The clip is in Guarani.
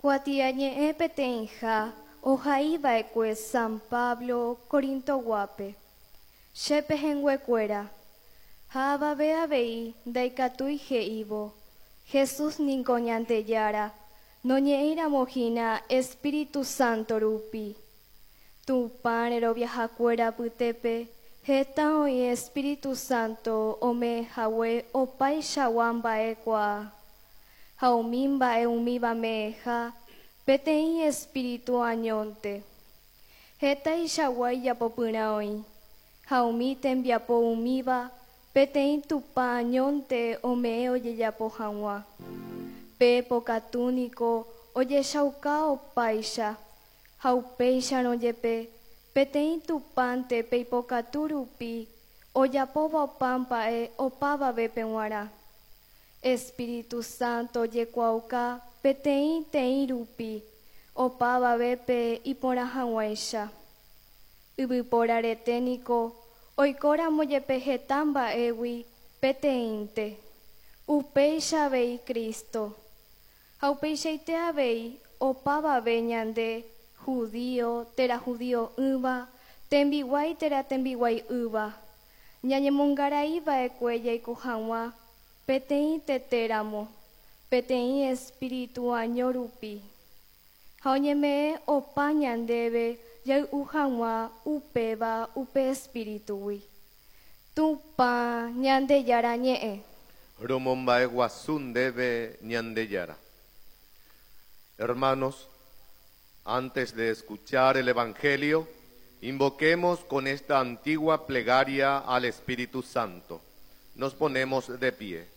Kuatiañe'ẽ peteĩha ohaiva'ekue San Pablo Corintoguápe. Che pehẽnguekuéra, ha avave avei ndaikatúi he'ívo, Jesús niko Ñandejára, noñe'ẽiramo hína Espíritu Santo rupi. Tupã reroviahakuéra apytépe heta oĩ Espíritu Santo ome'ẽhague opaichagua mba'ekuaa, ha umi mba'e umíva me'ẽha peteĩ Espíritu añónte. Hetaichagua ijapopyrã oĩ, ha umi tembiapo umíva peteĩ Tupã añónte ome'ẽ ojejapo hag̃ua. Pe pokatu niko ojechauka opáicha, ha upéicharõ jepe peteĩ Tupãnte pe ipokatu rupi ojapóva opa mba'e opavavépe g̃uarã. Espíritu Santo ojekuaauka peteĩ teĩ rupi opavavépe iporã hag̃uáicha. Yvypóra rete niko oikóramo jepe heta mba'égui peteĩnte, upéicha avei Cristo. Ha upeichaite avei opavave ñande, judío térã judio'ỹva, tembiguái térã tembiguai'ỹva, ñañemongarai va'ekue jaiko hag̃ua peteĩ tete ramo, peteĩ espíritu año rupi. Ha oñeme'ẽ opa ñandéve jay'u hag̃ua upéva upe espíritugui. Tupã Ñandejára ñe'ẽ. Romomba'eguasu ndéve Ñandejára. Hermanos, antes de escuchar el Evangelio, invoquemos con esta antigua plegaria al Espíritu Santo. Nos ponemos de pie.